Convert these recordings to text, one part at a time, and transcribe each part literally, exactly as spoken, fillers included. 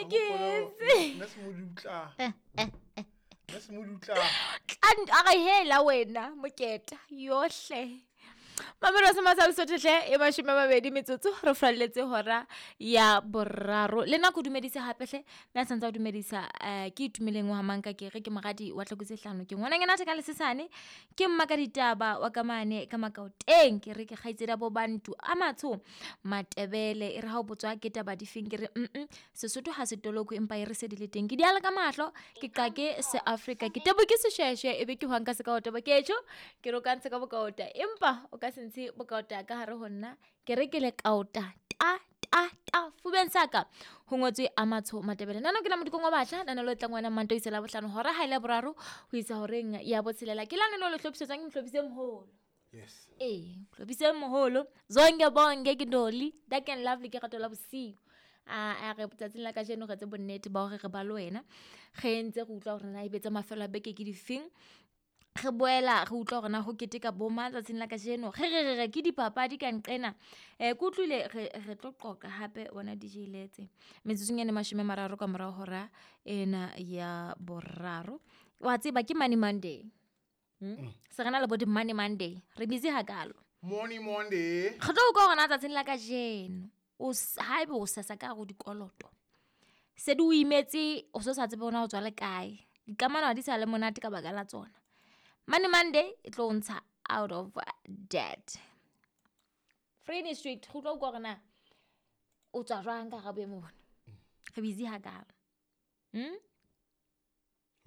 Ke etse. Nna semodutla. Nna semodutla. Tla a re hela wena moketa yohle. Mamelo se matsa Lesotho hle e mashome a mabedi metsotso re falletse hora ya boraro. Le nna ke o dumedise hape hle mme a santse a o dumedisa eh ke itumeleng wa manka ke re ke moradi wa tlhoko tse hlano ke ngwananyana a ka lesesane ke mma ka ditaba wa ka mane ka Makaoteng ke re ke kgaitsedi ya bo Bantu a matsho Matebele e re ha o botswa ke taba difeng ke re mm Sesotho ha se toloko empa e re se di le teng ke di ala ka mahlo ke qake se Afrika ke tebo ke seshweshwe ebe ke hwang ka se ka otaba ketjho ke re o ka ntshe ka bokaota empa o ka se ntshe bokaota ka hare ho nna ke re ke le kaota ta ta ta fubeng sa ka ho ngotswe a matsho Matebele nana ke la modikong wa batjha nana lo tlang wena Manto isa la bohlano hora ha ile boraro ho isa horeng ya botshelela ke la nana lo hlophisetswang ke mohlopise moholo. Yes. Ee, mohlopise moholo zonke bonke ke Dolly Dark and Lovely ke rato la bosiu. A a re tsatsing la kajeno re etse bonnete ba hore re ba le wena re ntse re utlwa hore na ebe tsa mafelo a beke ke difeng. Re boela re utlwa hore na ho keteka bo mang tsatsing la kajeno re re re re ke dipapadi ka nqena. Eh ke utlwile re re tlo qoqa hape wena D J Letse metsotsong ena e mashome a mararo ka morao hora ena ya boraro. Wa tseba ke Money Monday. Hmm? Se re na le bo di Money Monday re busy hakalo. Money Monday. Re tlo utlwa hore na tsatsing la kajeno o haebe o sesa ka hare ho dikoloto se di o imetse o so sa tsebe hore na o tswa le kae dikamano ha di sa le monate ka baka la tsona. Money Monday e tlo ntsha out of debt. Free Street re utlwa utlwa hore na o tswa jwang ka hara boemo bona. Re busy hakalo. Hmm?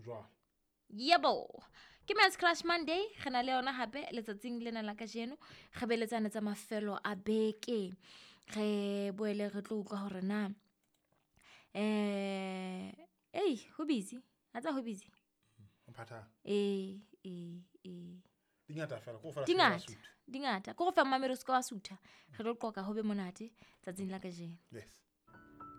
Jwang? Yebo. Ke Men's Crush Monday re na le yona hape letsatsing lena la kajeno re beletsane tsa mafelo a beke. Re boele re tlo utlwa hore na eh ei ho busy ha tsa ho busy. Mphatha. Eh eh eh Dingata fela ko fela Di ngata, di ngata. Ko go fa mmamedi o se ka wa sutha. Re tlo qoqa ho be monate tsatsing la kajeno. Yes.